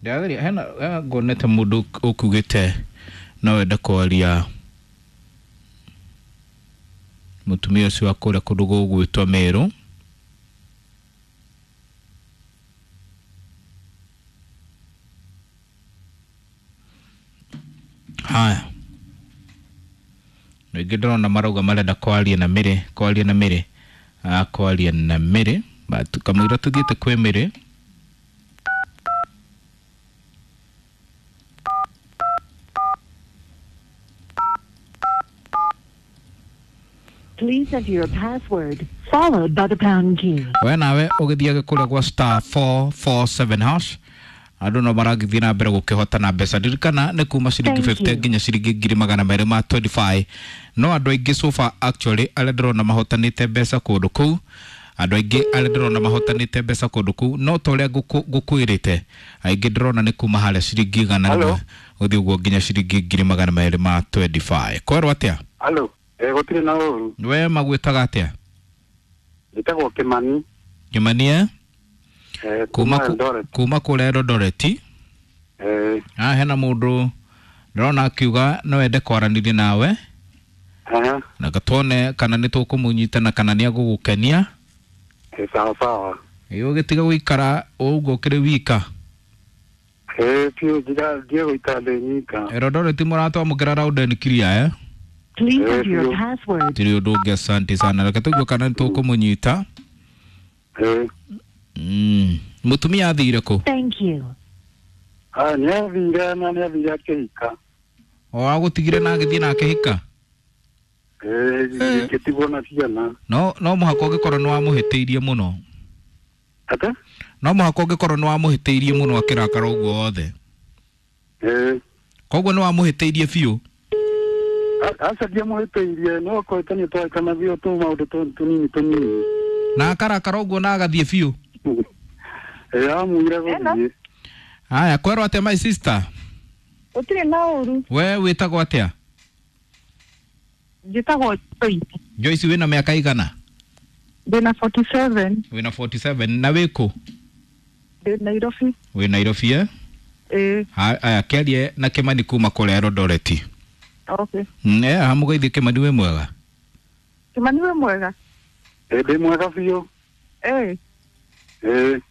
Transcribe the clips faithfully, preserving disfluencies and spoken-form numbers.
Ndĩrageria hena hena ngonete mũndũ ũkugĩte no wende kwaria mũtumia ũcio wa kũrĩa kũndũ gũgwĩtwo Meru. Haya, rĩngĩ ndĩrona marauga marenda kwaria na Mĩrĩ, kwaria na Mĩrĩ, ah, kwaria na Mĩrĩ. But kamũira tũthiĩte kwĩ Mĩrĩ. Please enter your password followed by the pound key. We nawe ũgĩthiage kũrĩa gwa star four four seven hash, andũ no maragĩthiĩ na mbere gũkĩhotana mbeca. Ririkana nĩ kuma ciringi Thank fifty you. nginya ciringi ngiri magana merĩ ma twenty-five. No andũ aingĩ so far actually arĩa ndĩrona mahotanĩte mbeca kũndũ kũu, andũ aingĩ arĩa ndĩrona mahotanĩte mbeca kũndũ kũu, no ta ũrĩa ngũkũ- ngũkwĩrĩte, aingĩ ndĩrona nĩ kuma harĩa ciringi igana Hello? rĩmwe gũthiĩ ũguo nginya ciringi ngiri magana merĩ ma twenty-five. Kwerwo atĩa? Halo, eh gũtirĩ na ũru. We magwĩtaga atĩa? Njĩtagwo Kĩmani. Kĩmani, eh? Eh kuma kuma ku- Eldoret. kuma kũrĩa Eldoret. Eh Ah, hena mũndũ ndĩrona akiuga no ende kwaranĩria nawe aha, na tuone kana nĩ tũkũmũnyita na kana nĩ agũgũkenia. eh sawa sawa. Ĩ ũgĩtiga gũikara ũguo ũkĩrĩ wika. Eh piũ njiga ndiĩ gũikara ndĩ nyika. Eldoret mũratwamũkĩra round and clear, eh? Please Eh, enter your biũ. password. Tirĩ ũndũ ũngĩ, asante sana. Reke tũigue kana nĩ tũkũmũnyita. Eh Mm. Mũtumia athire kũ? Thank you. ah nĩ athire na nĩ athire akĩhika. O agũtigire na agĩthiĩ na akĩhika? Eh ngĩtigwo na ciana. No no mũhaka ũngĩkorwo nĩ wamũhĩtĩirie mũno. Ate? No mũhaka ũngĩkorwo nĩ wamũhĩtĩirie mũno akĩrakara ũguo wothe. Eh Koguo nĩ wamũhĩtĩirie biũ. aca ndiamũhĩtĩirie, no kũhĩtania twahĩtanagia tu maũndũ tu- tũnini tũnini. Na akarakara ũguo na agathiĩ biũ. Eh amuire gũthiĩ. Haya, kwerwo atĩa my sister? Gũtirĩ na ũru. We wĩtagwo atĩa? Njĩtagwo Joyce. Joyce, wĩna mĩaka igana? Ndĩna forty-seven. Wĩna forty-seven na wĩkũ? Ndĩ Nairobi. Wĩ Nairobi, eh? Ĩĩ. Haya, kĩarie na Kĩmani kuma kũrĩa Eldoret. Okay. Mm, eh, hamũgeithie Kĩmani, wĩ mwega? Kĩmani, wĩ mwega? Eh ndĩ mwega biũ. Ĩĩ. Eh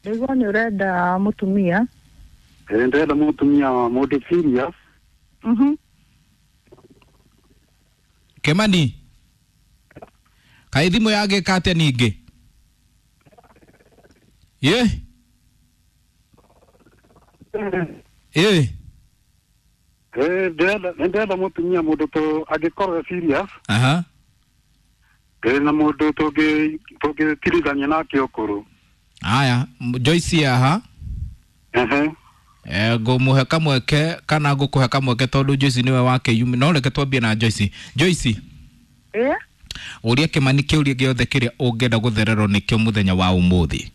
Ndaigua nĩ ũrenda mũtumia. eh ndĩrenda mũtumia wa mũndũ serious. Mhm. Kĩmani, kaĩ thimũ yagĩka atĩa ningĩ? Ye? Ĩ? Eh ndĩrenda ndĩrenda mũtumia mũndũ tũ angĩkorwo e serious. Aha. Eh na mũndũ tũngĩ tũngĩtirithania nake ũkũrũ. Haya, Joyce aha. Ehe. Eh, ngũmũhe kamweke kana ngũkũhe kamweke tondũ Joyce nĩwe wakĩyumĩ, no reke twambie na Joyce. Joyce, Ĩĩ. ũria Kĩmani kĩũria gĩothe kĩrĩa ũngĩenda gũthererwo nĩkĩo mũthenya wa ũmũthĩ.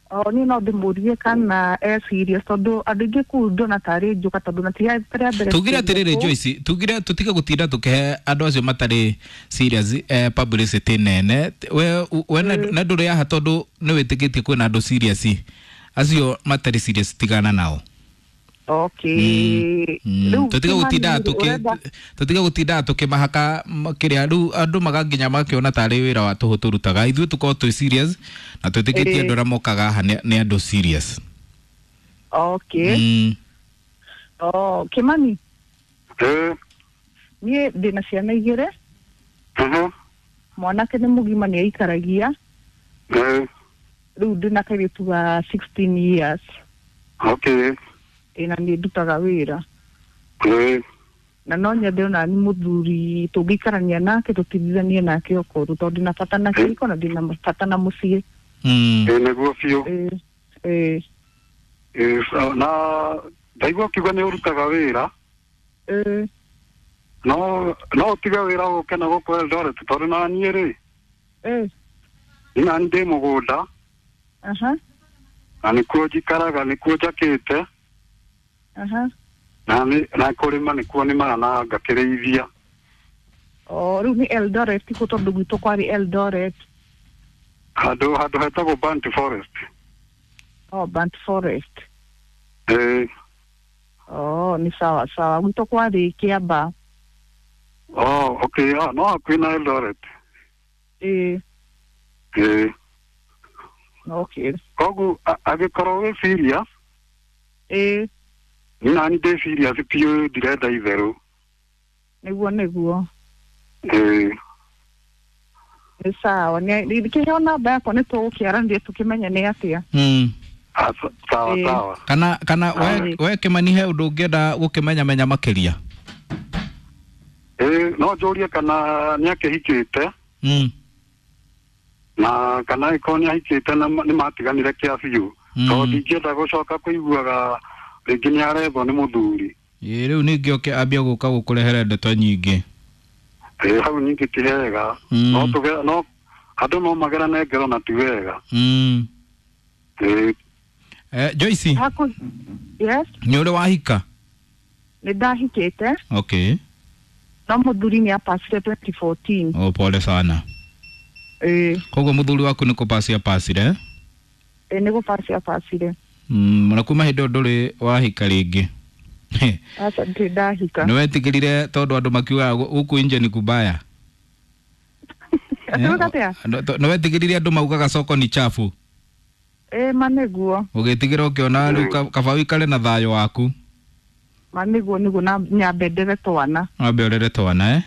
O niĩ no ndĩmũrie kana e serious, tondũ andũ aingĩ kũu ndona tarĩ njuka, tondũ na ti rĩa mbere. Tugire atĩrĩrĩ kũu. Joyce, tugire tũtige gũtinda tũkĩhe andũ acio matarĩ serious eh, publicity nene. We we na na ndũrĩ haha tondũ nĩ wĩtĩkĩtie kwĩna andũ serious, acio matarĩ serious tigana nao. Okay. Mm, Rĩu tũtige Kĩmani gũtinda rĩ, tũkĩ ũrenda tũtige gũtinda tũkĩmahaka m- kĩrĩa rĩu andũ maganginya makĩona tarĩ wĩra wa tũhũ tũrutaga. Ithuĩ tũkorwo twĩ serious na twĩtĩkĩtie Ĩĩ. andũ arĩa mokaga haha nĩ nĩ andũ serious. Okay. Mm. Oh, Kĩmani, Eh niĩ ndĩna ciana igĩrĩ. aha. Mwanake nĩ mũgima, nĩ aikaragia. Eh Rĩu ndĩna kairĩtu ga sixteen years. okay. Ĩ, na nĩ ndutaga wĩra. Eh Na no nyende ona ni mũthuri tũngĩikarania nake, tũtigithanie nake ũkũrũ, tondũ ndĩna bata na kĩhiko na ndĩna bata na mũciĩ. Mm. eh nĩguo biũ. Ĩ, ĩ. Eh sawa. Na ndaigua ũkiuga nĩ ũrutaga wĩra. Ĩ. No no ũtige wĩra ũke na gũkũ Eldoret, tondũ na niĩ rĩ, Ĩ. niĩ nani ndĩ mũgũnda Aha. na nĩkuo njikaraga, nĩkuo njakĩte Aha. na nĩ na kũrĩma nĩkuo nĩmaga na ngakĩrĩithia. O rĩu nĩ Eldoret kũ? Tondũ gwitũ kwarĩ Eldoret. Handũ handũ hetagwo Burnt Forest. Oh, Burnt Forest. Ĩĩ. Oh, nĩ sawa sawa. Gwitũ kwarĩ Kĩamba. Oh, okay, ah, no hakuhĩ na Eldoret. Ĩĩ. Ĩĩ. Okay. Koguo a- angĩkorwo wĩ serious, Ĩĩ. niĩ nani ndĩ serious biũ, ndirenda itherũ. Nĩguo nĩguo. Ĩĩ. Nĩ sawa. Nĩ kĩheo namba yakwa nĩ tũgũkĩaranĩria tũkĩmenye nĩ atĩa. Mm. Ah, sa- sawa Ĩĩ. sawa. Kana kana we, we Kĩmani he ũndũ ũngĩenda gũkĩmenyamenya makĩria? Ĩĩ, no njũrie kana nĩ akĩhikĩte Mm. na kana angĩkorwo nĩ ahikĩte na ma- nĩ matiganire kĩa biũ. Mm. Tondũ ndingĩenda gũcoka kũiguaga rĩngĩ nĩ arethwo nĩ mũthuri. Ĩĩ rĩu ningĩ oke ambia gũka gũkũrehere ndeto nyingĩ. Ĩĩ, hau ningĩ ti hega. Mm. No tũge no andũ no magerane ngero na ti wega. Mm. Ĩĩ. Eh, Joyce, Haku. Yes, nĩ ũrĩ wahika? nĩ ndahikĩte Okay. no mũthuri nĩ apacire twenty fourteen. Oh, pole sana. Ĩĩ. Koguo mũthuri waku nĩ kũpaci apacire? Ĩĩ nĩ gũpaci apacire. Mm, na kuma hĩndĩ ĩyo ndũrĩ wahika rĩngĩ. Aca ndirĩ ndahika. Nĩ wetigĩrire tondũ andũ makiugaga gũkũ nje ni kubaya. Atĩ atĩa? Nĩ wetigĩrire andũ maugaga soko ni chafu. Ĩĩ ma nĩguo. Ũgĩtigĩra ũkĩona rĩu ka- kaba ũikare na thayũ waku. Ma nĩguo nĩguo na nyambe ndere twana. Wambe ũrere twana eh?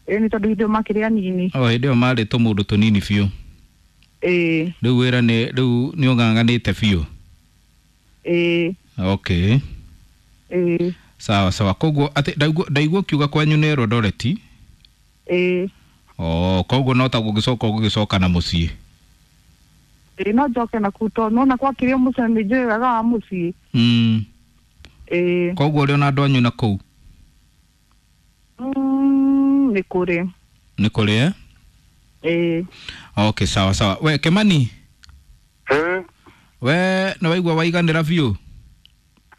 Ĩĩ nĩ tondũ hĩndĩ ĩyo makĩrĩ anini. O hĩndĩ ĩyo marĩ tũmũndũ tũnini biũ. Ĩĩ. Rĩu wĩra nĩ rĩu nĩ ũng'ang'anĩte biũ. Ĩĩ. Okay. Ĩĩ. Sawa sawa. Koguo atĩ ndaigua ndaigua ũkiuga kwanyu nĩ Eldoret. Ĩĩ. Oh, koguo no ta gũgĩcoka ũgũgĩcoka na mũciĩ. Ĩĩ no njoke na kuu tondũ nona gwakĩrĩ o mũciĩ nĩ njũĩ wega wa mũciĩ. Mm. Ĩĩ. Koguo ũrĩ ona andũ anyu na kũu Mm, nĩ kũrĩ. nĩ kũrĩ eh? Ĩĩ. Okay, sawa sawa. We Kĩmani, Ĩĩ. we nĩ waigua waiganĩra biũ?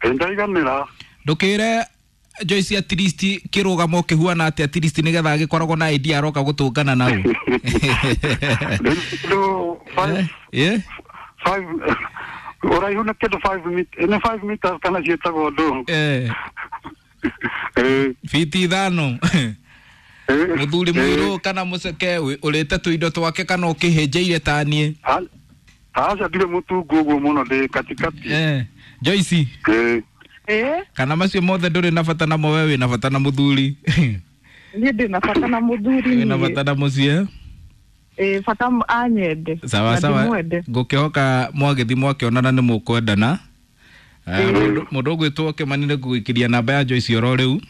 Ĩĩ ndaiganĩra. Ndũkĩre Joyce at least kĩrũgamo kĩhuana atĩa at least nĩgetha agĩkoragwo na idea aroka gũtũngana nau. Rĩu five Eh? five ũraihu nĩ kĩndũ five mit- nĩ five meters kana ciĩtagwo ndũ. Eh, Ĩĩ. fiti ithano. Ĩĩ. Mũthuri mũirũ kana mũceke ũ- ũrĩte tũindo twake kana ũkĩhĩnjĩire ta niĩ. A- Aca ndirĩ mũtungu ũguo mũno ndĩ katikati. Eh, Joyce, Ĩĩ. Ĩĩ. kana macio mothe ndũrĩ na bata namo we wĩna bata na mũthuri. Niĩ ndĩ na bata na mũthuri Wĩna niĩ. bata na mũciĩ. Ĩĩ bata m- anyende. Sawa Na sawa. ndĩmwende. Ngũkĩhoka mwagĩthi mwakĩonana nĩ mũkwendana. Eh, Ĩĩ. mũndũ mũndũ ũgwĩtwo Kĩmani nĩ ngũgĩikĩria namba ya Joyce oro rĩu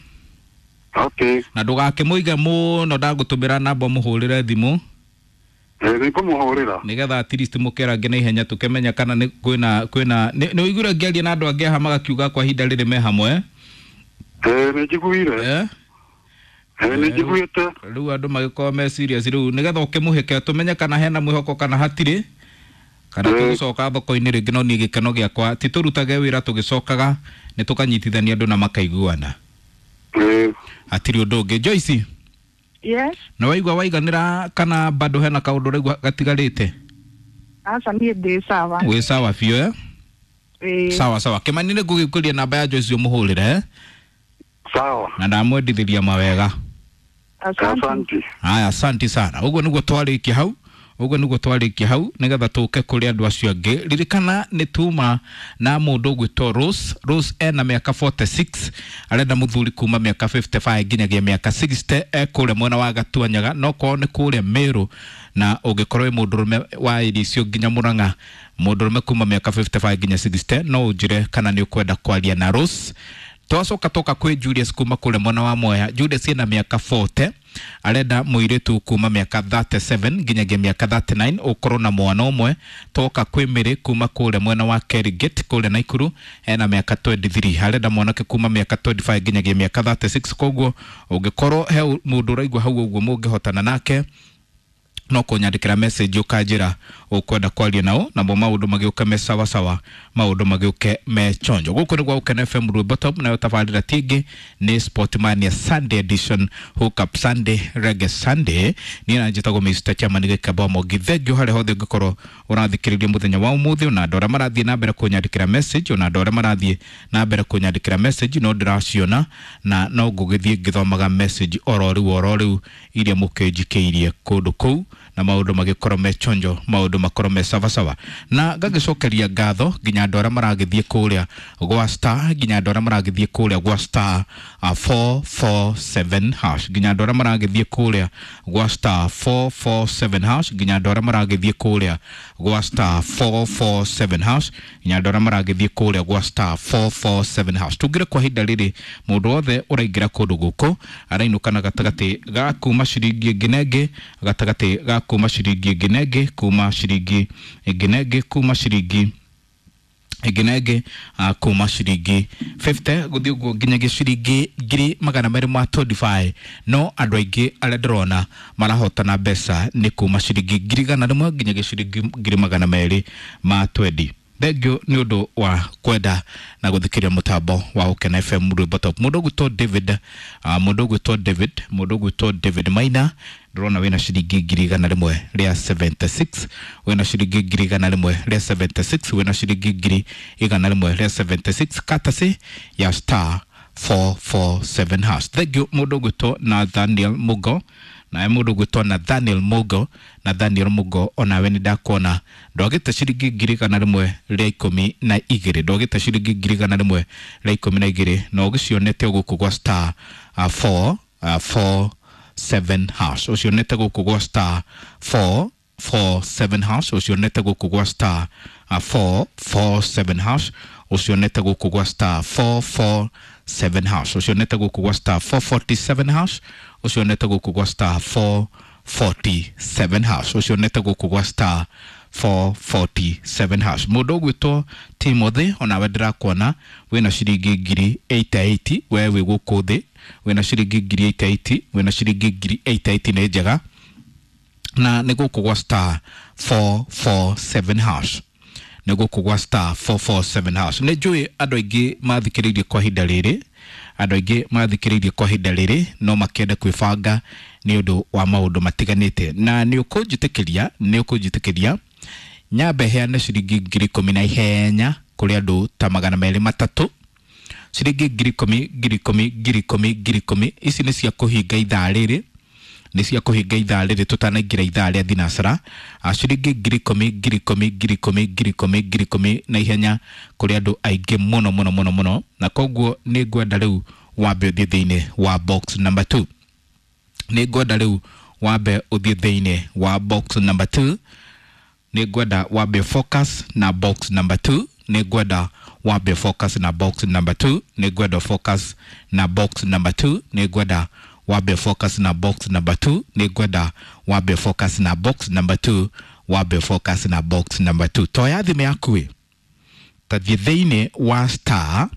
Okay. na ndũgakĩmũige mũno ndagũtũmĩra namba ũmũhũrĩre thimũ Ĩĩ nĩngũmũhũrĩra. nĩgetha at least mũkerange na ihenya tũkĩmenya kana nĩ kwĩna kwĩna nĩ nĩ ũiguire ngĩaria na andũ angĩ haha magakiuga kwa ihinda rĩrĩ me hamwe Ĩĩ nĩ njiguire. eh? Ĩĩ nĩ njiguĩte. Rĩu andũ magĩkorwo me serious rĩu nĩgetha ũkĩmũhĩke tũmenye kana hena mwĩhoko kana hatirĩ kana Ĩĩ. tũgũcoka thoko-inĩ rĩngĩ no niĩ gĩkeno gĩakwa ti tũrutage wĩra tũgĩcokaga nĩ tũkanyitithania andũ na makaiguana. Ĩĩ. Hatirĩ ũndũ ũngĩ. Joyce, Yes. nĩ waigua waiganĩra kana bado hena kaũndũ ũraigua gatigarĩte? Aca niĩ ndĩ sawa. Wĩ sawa biũ eh? Ĩĩ. Sawa sawa. Kĩmani nĩ ngũgĩkũria namba ya Joyce ũmũhũrĩre eh? Sawa. Na ndamwendithĩria mawega. Asante. Asante. Haya, asante sana. Ũguo nĩguo twarĩkia hau ũguo nĩguo twarĩkia hau nĩgetha tũke kũrĩ andũ acio angĩ. Ririkana nĩ tuma na mũndũ ũgwĩtwo Rose. Rose ena mĩaka forty-six, arenda mũthuri kuma mĩaka fifty-five nginyagia mĩaka sixty, e kũrĩa mwena wa Gatuanyaga no korwo nĩ kũrĩa Meru, na ũngĩkorwo wĩ mũndũrũme wa area icio nginya Murang'a, mũndũrũme kuma mĩaka fifty-five nginya sixty, no ũnjĩre kana nĩ ũkwenda kwaria na Rose. Twacoka toka kwĩ Julius kuma kũrĩa mwena wa Mwea. Julius ena mĩaka forty, arenda mũirĩtu kuma mĩaka thirty-seven nginyagia mĩaka thirty-nine, ũkorwo na mwana ũmwe. Toka kwĩ Mĩrĩ kuma kũrĩa mwena wa Kerigate kũrĩa Naikuru, ena mĩaka twenty-three, arenda mwanake kuma mĩaka twenty-five nginyagia mĩaka thirty-six. Koguo ũngĩkorwo he mũndũ ũraigua hau ũguo mũngĩhotana nake, No kũnyandĩkĩra message ũkanjĩra ũkwenda kwaria nao, namo maũndũ magĩũke me sawa sawa, maũndũ magĩũke me chonjo. Gũkũ nĩ gwa Gũkena F M Rwĩmbo Top, nayo tabarĩra ti ĩngĩ nĩ Sportmania Sunday Edition, Hook Up Sunday, Reggae Sunday. Niĩ na njĩtagwo Mister Chairman Gĩkamba Mwangi. Thengiũ harĩa hothe ũngĩkorwo ũrathikĩrĩria mũthenya wa ũmũthĩ, ona andũ arĩa marathiĩ na mbere kũnyandĩkĩra message, ona andũ arĩa marathiĩ na mbere kũnyandĩkĩra message no ndĩraciona, na no ngũgĩthiĩ ngĩthomaga message oro rĩu oro rĩu iria mũkĩnjikĩirie kũndũ kũu, na maũndũ magĩkorwo me chonjo, maũndũ makorwo me sawa sawa. Na ngagĩcokeria ngatho nginya andũ arĩa maragĩthiĩ kũrĩa gwa star, nginya andũ arĩa maragĩthiĩ kũrĩa gwa star uh, four four seven hash, nginya andũ arĩa maragĩthiĩ kũrĩa gwa star four four seven hash, nginya andũ arĩa maragĩthiĩ kũrĩa gwa star four four seven hash, nginya andũ arĩa maragĩthiĩ kũrĩa gwa star four four seven hash. Tungĩre kwa ihinda rĩrĩ mũndũ wothe ũraingĩra kũndũ gũkũ arainũka na gatagatĩ ga kuma ciringi ĩngĩ na ĩngĩ, gatagatĩ ga kuma ciringi ĩngĩ na ĩngĩ, kuma ciringi ĩngĩ na ĩngĩ, kuma ciringi ĩngĩ na ĩngĩ, uh, kuma ciringi fifty gũthiĩ ũguo nginyagia ciringi ngiri magana merĩ ma twenty-five. No andũ aingĩ arĩa ndĩrona marahotana mbeca nĩ kuma ciringi ngiri igana rĩmwe nginyagia ciringi ngiri magana merĩ ma twenty. Thengiũ nĩ ũndũ wa kwenda na gũthikĩrĩria mũtambo wa Gũkena F M Rwĩmbo Top. Mũndũ ũgwĩtwo David, uh, mũndũ ũgwĩtwo David, mũndũ ũgwĩtwo David Maina, ndĩrona wĩna ciringi ngiri igana rĩmwe rĩa seventy-six, wĩna ciringi ngiri igana rĩmwe rĩa seventy-six, wĩna ciringi ngiri igana rĩmwe rĩa seventy-six, courtesy ya star four four seven hash. Thengiũ mũndũ ũgwĩtwo Nathaniel Mugo, nawe mũndũ ũgwĩtwo Nathaniel Mugo, Nathaniel Mugo onawe nĩ ndakuona ndwagĩte ciringi ngiri igana rĩmwe rĩa ikũmi na igĩrĩ, ndwagĩte ciringi ngiri igana rĩmwe rĩa ikũmi na igĩrĩ, na ũgĩcionete gũkũ gwa star uh, four, uh, four seven hash, ũcionete gũkũ gwa star four four seven hash, ũcionete gũkũ gwa star uh, four four seven hash, ũcionete gũkũ gwa star four four seven hash, ũcionete gũkũ gwa star four forty-seven hash, ũcionete gũkũ gwa star four forty-seven hash, ũcionete gũkũ gwa star four forty-seven hash. Mũndũ ũgwĩtwo Timothy onawe ndĩrakuona wĩna ciringi ngiri eighty-eight, we wĩ gũkũ thĩ wĩna ciringi ngiri eighty-eight, wĩna ciringi ngiri eighty-eight nĩ njega, na nĩ gũkũ gwa star four four seven hash, nĩ gũkũ gwa star four four seven hash. Nĩ njũĩ andũ aingĩ mathikĩrĩirie kwa ihinda rĩrĩ, andũ aingĩ mathikĩrĩirie kwa ihinda rĩrĩ no makĩende kwĩbanga nĩ ũndũ wa maũndũ matiganĩte, na nĩ ũkũnjĩtĩkĩria, nĩ ũkũnjĩtĩkĩria nyambe heane ciringi ngiri ikũmi na ihenya kũrĩ andũ ta magana merĩ matatũ, ciringi ngiri ikũmi, ngiri ikũmi, ngiri ikũmi, ngiri ikũmi. Ici nĩ cia kũhinga ithaa rĩrĩ, nĩ cia kũhinga ithaa rĩrĩ tũtanaingĩra ithaa rĩa thinacara. Ciringi ngiri ikũmi, ngiri ikũmi, ngiri ikũmi, ngiri ikũmi, ngiri ikũmi na ihenya kũrĩ andũ aingĩ mũno mũno mũno mũno, na koguo nĩ ngwenda rĩu wambe ũthiĩ thĩinĩ wa box number two, nĩ ngwenda rĩu wambe ũthiĩ thĩinĩ wa box number two, nĩ ngwenda wambe focus na box number two, nĩ ngwenda wambe focus na box number two, nĩ ngwenda focus na box number two, nĩ ngwenda wambe focus na box number two, nĩ ngwenda wambe focus na box number two, wambe focus na box number two. Toya thimũ yaku ĩ, tathiĩ thĩinĩ wa star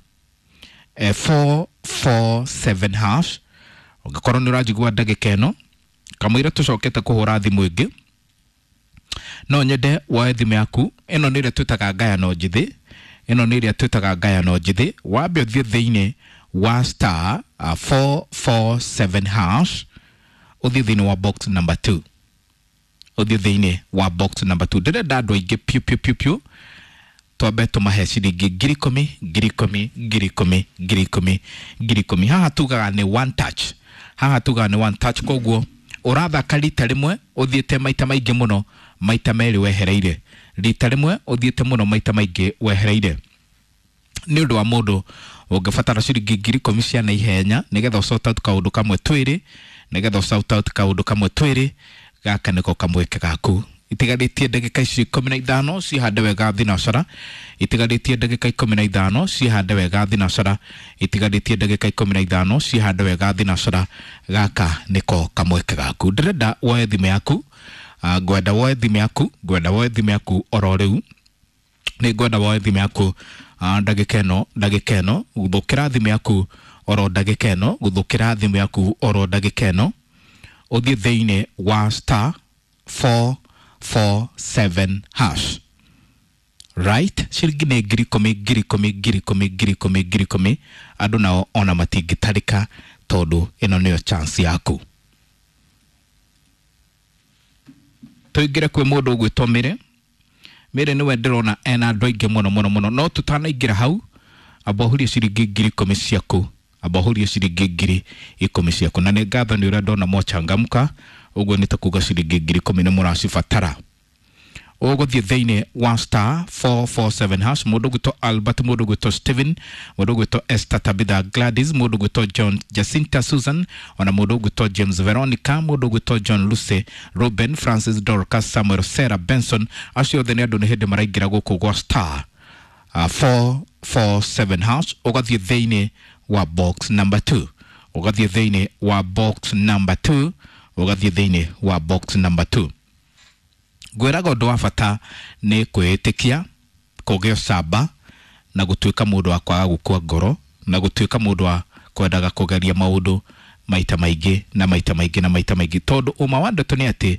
eh, four four seven hash. Ũngĩkorwo nĩ ũranjigua ndagĩka ĩno kamũira tũcokete kũhũra thimũ ĩngĩ, no nyende woe thimũ yaku ĩno nĩ ĩrĩa twĩtaga ngayano njĩthĩ, ĩno nĩ ĩrĩa twĩtaga ngayano njĩthĩ, wambe ũthiĩ thĩinĩ wa star uh, four four seven hash, ũthiĩ thĩinĩ wa box number two, ũthiĩ thĩinĩ wa box number two. Ndĩrenda andũ aingĩ piũ piũ piũ piũ, twambe tũmahe ciringi ngiri ikũmi, ngiri ikũmi, ngiri ikũmi, ngiri ikũmi, ngiri ikũmi. Haha tugaga nĩ one touch, haha tugaga nĩ one touch, koguo ũrathaka rita rĩmwe ũthiĩte maita maingĩ mũno, maita merĩ wehereire, rita rĩmwe ũthiĩte mũno maita maingĩ wehereire. Nĩ ũndũ wa mũndũ ũngĩbatara ciringi ngiri ikũmi cia naihenya nĩgetha ũsort out kaũndũ kamwe twĩrĩ, nĩgetha ũsort out kaũndũ kamwe twĩrĩ, gaka nĩko kamweke gaku. Itigarĩtie ndagĩka ici ikũmi na ithano cihande wega thinacara, itigarĩtie ndagĩka ikũmi na ithano cihande wega thinacara, itigarĩtie ndagĩka ikũmi na ithano cihande wega thinacara, gaka nĩko kamweke gaku. Ndĩrenda woe thimũ yaku, uh, ngwenda woe thimũ yaku, ngwenda woe thimũ yaku oro rĩu, nĩ ngwenda woe thimũ yaku uh, ndagĩka ĩno, ndagĩka ĩno, gũthũkĩra thimũ yaku oro ndagĩka ĩno, gũthũkĩra thimũ yaku oro ndagĩka ĩno, ũthiĩ thĩinĩ wa star four four seven hash. Right, ciringi nĩ ngiri ikũmi ngiri ikũmi ngiri ikũmi ngiri ikũmi ngiri ikũmi. Andũ nao ona matingĩtarĩka tondũ ĩno nĩyo chance yaku. Tũingĩre kwĩ mũndũ ũgwĩtwo Mĩrĩ. Mĩrĩ nĩwe ndĩrona ena andũ aingĩ mũno mũno mũno, no tũtanaingĩra hau amba ũhurie ciringi ngiri ikũmi ciaku, amba ũhurie ciringi ngiri ikũmi ciaku. Na nĩ ngatho nĩ ũrĩa ndona mwachangamka, ũguo nĩ ta kuga ciringi ngiri ikũmi nĩ mũracibatara. Ũgũthiĩ thĩinĩ wa star four four seven hash. Mũndũ ũgwĩtwo Albert, mũndũ ũgwĩtwo Stephen, mũndũ ũgwĩtwo Esther Tabitha Gladys, mũndũ ũgwĩtwo John Jacinta Susan, ona mũndũ ũgwĩtwo James Veronica, mũndũ ũgwĩtwo John Lucy, Ruben Francis, Dorcas Samuel, Sarah Benson. Acio othe nĩ andũ nĩ hĩndĩ maraingĩra gũkũ gwa star uh, four four seven hash. Ũgathiĩ thĩinĩ wa box number two, ũgathiĩ thĩinĩ wa box number two, ũgathiĩ thĩinĩ wa box number two. Ngwĩraga ũndũ wa bata nĩ kwĩĩtĩkia, kũgĩa ũcamba na gũtuĩka mũndũ wa kwaga gũkua ngoro, na gũtuĩka mũndũ wa kwendaga kũgeria maũndũ maita maingĩ na maita maingĩ na maita maingĩ, tondũ ũma wa ndeto nĩ atĩ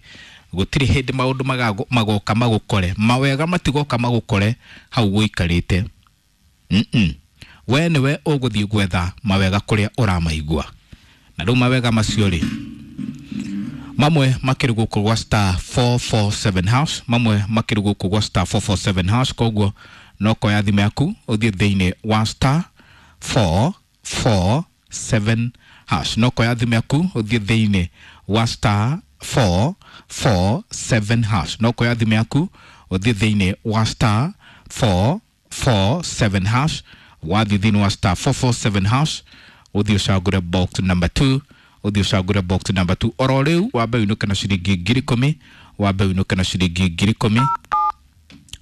gũtirĩ hĩndĩ maũndũ magoka magũkore, mawega matigoka magũkore hau gũikarĩte. Mm-mm. We nĩwe ũgũthiĩ gwetha mawega kũrĩa ũramaigua. Na rĩu mawega macio rĩ, mamwe makĩrĩ gũkũ gwa star four four seven hash, mamwe makĩrĩ gũkũ gwa star four four seven hash. Koguo no koya thimũ yaku ũthiĩ thĩinĩ wa star four four seven hash, no koya thimũ yaku ũthiĩ thĩinĩ wa star four four seven hash, no koya thimũ yaku ũthiĩ thĩinĩ wa star four four seven hash. Wathiĩ thĩinĩ wa star four four seven hash ũthiĩ ũcagũre box number two, ũthiĩ ũcagũre box number two. Oro rĩu wambe ũinũke na ciringi ngiri ikũmi, wambe ũinũke na ciringi ngiri ikũmi.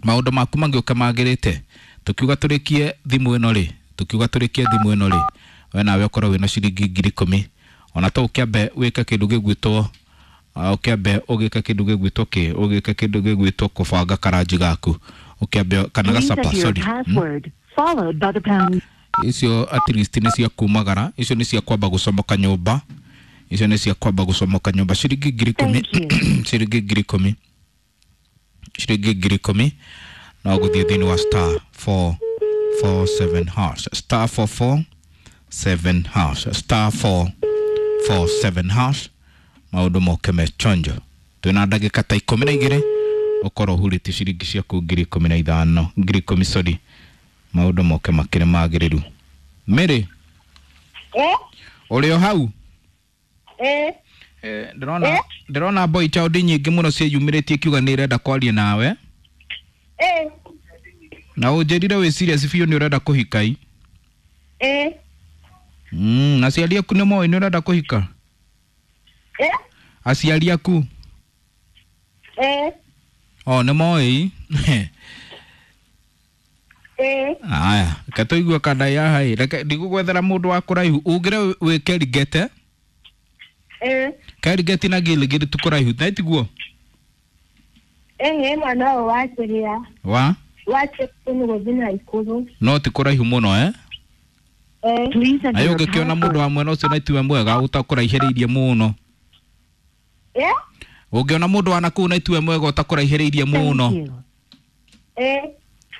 Maũndũ maku mangĩũka magĩrĩte, tũkiuga tũrĩkie thimũ ĩno rĩ, tũkiuga tũrĩkie thimũ ĩno rĩ, we nawe ũkorwo wĩna ciringi ngiri ikũmi. Ona to ũkĩambe wĩke kĩndũ gĩgwĩtwo, ũkĩambe ũgĩke kĩndũ gĩgwĩtwo kĩ, ũgĩke kĩndũ gĩgwĩtwo kũbanga karanji gaku, ũkĩambe kana gacapa, sorry, icio at least nĩ cia kumagara, icio nĩ cia kwamba gũcomoka nyũmba, icio nĩ cia kwamba gũcomoka nyũmba. Ciringi ngiri ikũmi, ciringi ngiri ikũmi, ciringi ngiri ikũmi. No gũthiĩ thĩinĩ wa star four four seven hash, star four four seven hash, star four four seven hash. Maũndũ moke me chonjo. Twĩna ndagĩka ta ikũmi na igĩrĩ ũkorwo ũhurĩtie ciringi ciaku ngiri ikũmi na ithano, ngiri ikũmi, sorry. Maũndũ moke makĩrĩ magĩrĩru. Mĩrĩ, Eh? ũrĩ o hau? Eh? Eh, ndĩrona ndĩrona boy child nyingĩ mũno ciĩyumĩrĩtie kiuga nĩ irenda kwaria nawe. Eh? Na ũnjĩrire wĩ serious biũ nĩ ũrenda kũhika i? Eh? Mm, na aciari aku nĩ moĩ nĩ ũrenda kũhika? Eh? Aciari aku? Eh? O nĩ moĩ? Eh? Aya, reke tũigue kana ya hai. Reke ndigũgwethera mũndũ wa kũraihu. Ugire wĩ Kerigete? Eh? Kerigeti na Gilgil ti kũraihu, na tiguo? Eh, mwana ũyũ wa kĩrĩa Wa? wa Cheptuni gũthiĩ Naikuru. No ti kũraihu mũno eh? Eh? Please Na enter your ũngĩkĩona mũndũ password. wa mwena ũcio na tiwe mwega ũtakũraihĩrĩirie mũno. Eh? Ũngĩona mũndũ wa nakũu na tiwe mwega ũtakũraihĩrĩirie mũno. Thank you. Eh?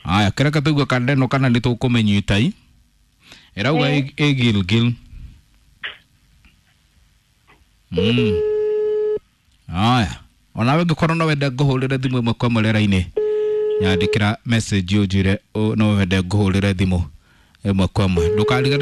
Aya, kĩreke tũigue kanda ĩno kana nĩ tũkũmĩnyita i. Ĩrauga Eh. ĩ Gilgil. Mm. Aya, onawe ũngĩkorwo no wende ngũhũrĩre thimũ ĩmwe kwa ĩmwe rĩera-inĩ, nyandĩkĩra message ũnjĩre no wende ngũhũrĩre thimũ ĩmwe kwa ĩmwe. Ndũkariganĩrwo.